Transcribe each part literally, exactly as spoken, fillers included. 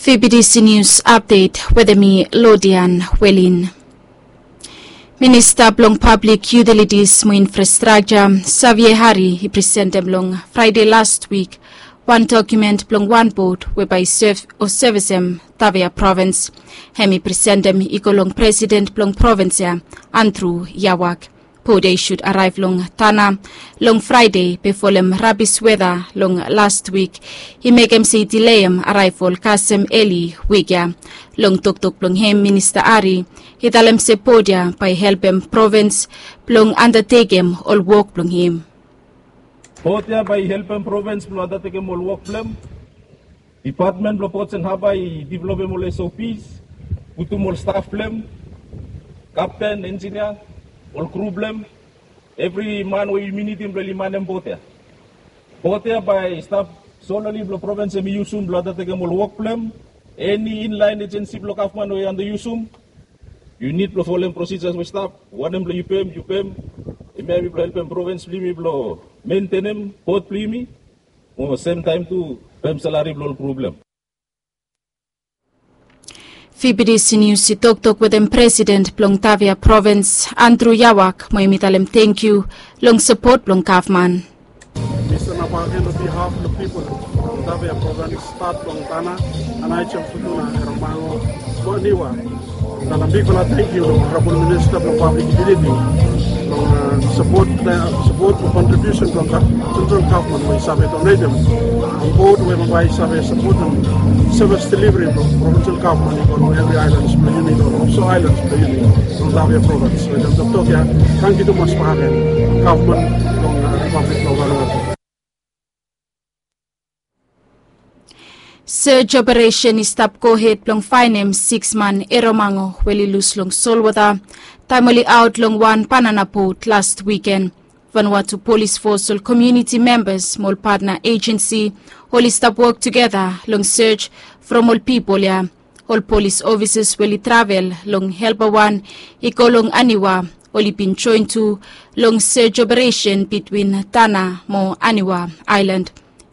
Fibidisi Nius Apdet wetem mi Lodian Welin. Minista blong Pablik Yutilitis mo Infrastrakja, Xavier Hari, i presentem long Fraede lastwik wan dokumen blong wan bot we bae i sev o sevesem Tavea provins. Hem i presentem i go long presiden blong provins ya, Andrew Yawak. Bot ya i sud araev long Tana long Fraede be folem rabis weta long lastwik i mekem se i dileem araeval kasem eli wik ya. Long toktok blong hem, Minista Hari i talem se bot ya bae i helpem provins blong andatekem ol wok blong hem. Bot ya bae i helpem provins blong andatekem ol wok blong hem. Dipatmen blong Ports and Harbour i developem ol S O Ps, putum ol staf blong hem, kapten, enjinia, ol kru blong hem, evri man we yumi nidim blong oli manem bot ya. Bot ya bae i stap solely blong provins hem i yusum blong andatekem ol wok blong hem. Eni inlaen ejensi blong gavman we yu anda yusum, yu nid blong folem prosijas we stap. Wanem blong yu pem, yu pem. Hemia hemi blong helpem provins blong yumi blong mentenem bot blong yumi. Mo semtaem tu pem salari blong ol kru blong hem. Fibidisi Nius i toktok wetem presiden blong Tavea provins, Andrew Yawak, mo hemi talem tangkiu long sapot blong gavman. Mi stanap agen on behalf of the people from Tavea provins, stat blong Tana, Aneityum, Futuna, Eromango mo Aniwa. Talem bigfala tangkiu long Honorabol Minista blong Pablik Yutiliti long, a, sapot, a, sapot mo kontribiusen blong sentral gavman we i save donetem on bot we bae i save sapotem sevis deliveri blong provinsel gavman i go long evri aelans blong yumi, long ofso aelans blong yumi, long Tavea provins. So wetem toktok ya, tangkiu tumas bakegen gavman blong, a, Ripablik blong Vanuatu. Search operesen i stap gohed blong faenem siks man Eromango we oli lus long solwota taem oli aot long wan banana bot last wiken. Vanuatu Polis Fos, ol komuniti membas mo ol patna ejensi oli stap wok tugeta long search from ol pipol ya. Ol polis ofisas we oli travel long Helper wan i go long Aniwa oli bin joen tu long search operesen bitwin Tana mo Aniwa aelan.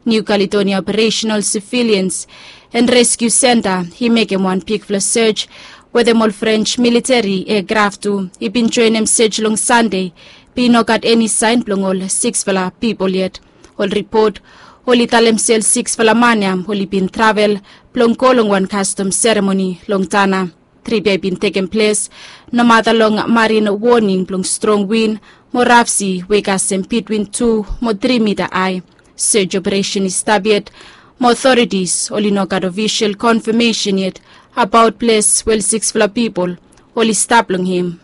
New Caledonia Operational Surveillance and Rescue Centre i mekem wan bigfala search wetem ol French militeri eakraf tu i bin joenem search long Sande, be i no gat eni saen blong ol siksfala pipol yet. Ol ripot oli talem se ol siksfala man ya oli bin travel blong go long wan kastom seremoni long Tana. Trip ya i bin tekem ples nomata long marin woning blong strong win mo raf si we i kasem bitwin tu mo tri mita ae. Search operesen i stap yet mo otoritis oli no gat ofisol konfamesen yet abaot ples we ol siksfala pipol oli stap long hem.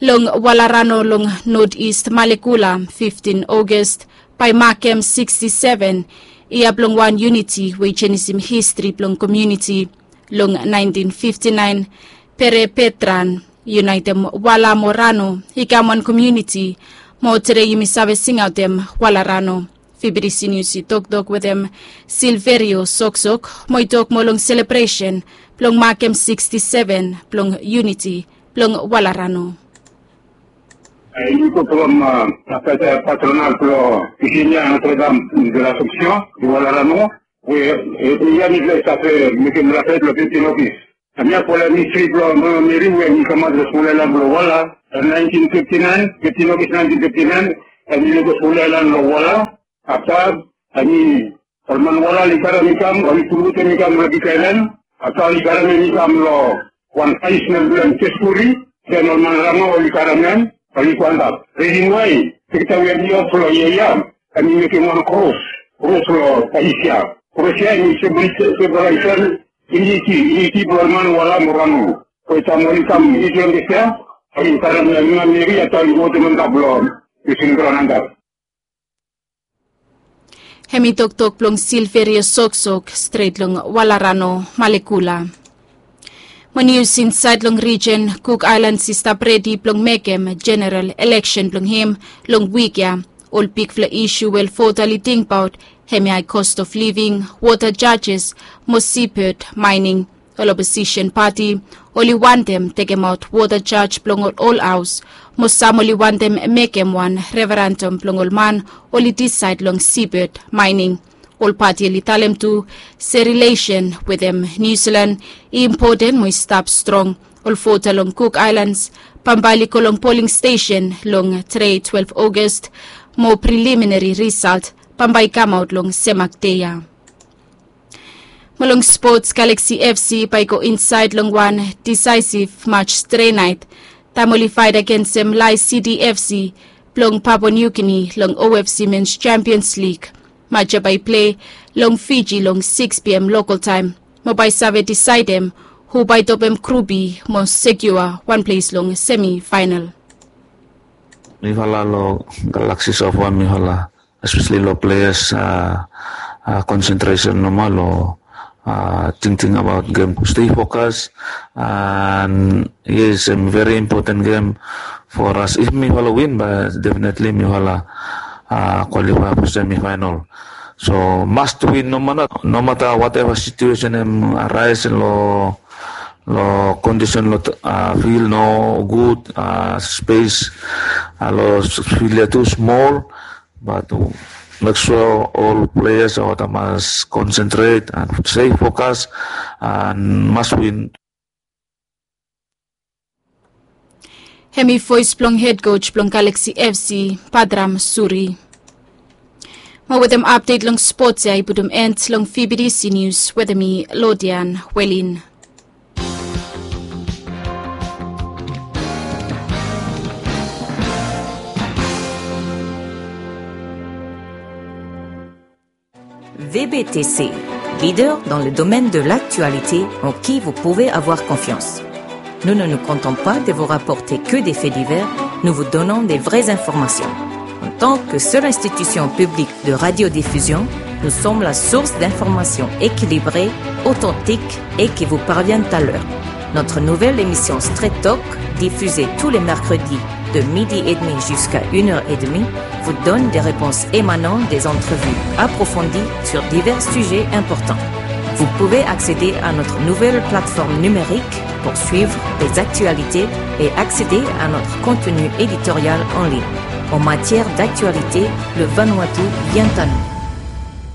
Long Walarano long North East Malekula, fiftin August bae i makem siksti seven yia blong wan yuniti we i jenisim histri blong komuniti. Long naentin fifti naen, Pere Petran i unaetem Wala mo Rano i kam wan komuniti, mo tede yumi save singaotem Walarano. Fibidisi Nius i toktok wetem Silverio Soksok mo i tok moa long selebresen blong makem siksti seven blong yuniti blong Walarano. Yumi go from, a, patronal blong Virginia Notre Dame de l'Assomption, Walarano, we, e, yia mifala i stap mekem rapet long fiftin August. Hemia folem histri blong Mama Meri we hem i kamaot long skul aelan blong Wala. Long naentin fifti naen, fiftin August naentin fifti naen, hem i go skul aelan long Wala. Afta hem i, ol man Wala oli karem i kam, oli pulputem i kam long big aelan. Afta oli karem hem i kam long wan faesnel blong hem, Teskuri. Den ol man Rano oli karem hem, oli go antap. Risen wae, sekta we hem i of long yia ya, hem i mekem wan kros, kros long faes ya. Kros ya hem i sembolaisim yuniti, yuniti blong ol man Wala mo Rano. From taem oli kam indipendens ya, oli karem Mama Meri, afta oli putum antap long burying graon antap. Hemi toktok blong Silverio Soksok, stret long Walarano, Malekula. Mo nius insaed long rijen, Cook Islands i stap redi blong mekem jeneral eleksen blong hem long wik ya. Ol bigfala isu we ol vota oli tingbaot hemia i cost of living, water charges mo seabed mining. Ol oposisen pati oli wantem tekemaot water charge blong ol haos, mo sam oli wantem mekem wan referendum blong ol man oli disaed long seabed mining. Ol pati oli talem tu se rilesen wetem Niu Silan i impoten mo i stap strong. Ol vota long Cook Islands bambae oli go long poling stesen long tre twelve August, mo preliminary result bambae i kamaot long semak dei ya. Mo long spots, Galaxy F C bae i go insaed long wan disaesiv match tre naet taem oli faet agensem Lae City F C blong Papua New Guinea long O F C Men's Champions League. Match ya bae i plei long Fiji long six P M local taem, mo bae i save disaedem hu bae i topem grup B mo sekiua wan ples long semi faenal. Mifala long Galaxy so far, mifala especially long players, a, a, concentration nomo long, a, tingting abaot gem, stay focus. And yes, em very important game for us. If mifala win, bae definitely mifala, a, qualify for semi final. So must win no matter, no matter whatever situation em arise long, long condition long, a, field no gud, a, space, a, long field ya tu smol. But mek sua ol players olgeta mas concentrate and stay focus and mas win. Hemi voes blong hed coach blong Galaxy F C, Padram Suri. Mo wetem apdet long spots ya i putum end long V B T C News wetem mi, Lodian Welin. V B T C, leader dans le domaine de l'actualité en qui vous pouvez avoir confiance. Nous ne nous contentons pas de vous rapporter que des faits divers, nous vous donnons des vraies informations. En tant que seule institution publique de radiodiffusion, nous sommes la source d'informations équilibrées, authentiques et qui vous parviennent à l'heure. Notre nouvelle émission Straight Talk, diffusée tous les mercredis de midi et demi jusqu'à une heure et demie, vous donne des réponses émanant des entrevues approfondies sur divers sujets importants. Vous pouvez accéder à notre nouvelle plateforme numérique pour suivre les actualités et accéder à notre contenu éditorial en ligne. En matière d'actualité, le Vanuatu vient à nous.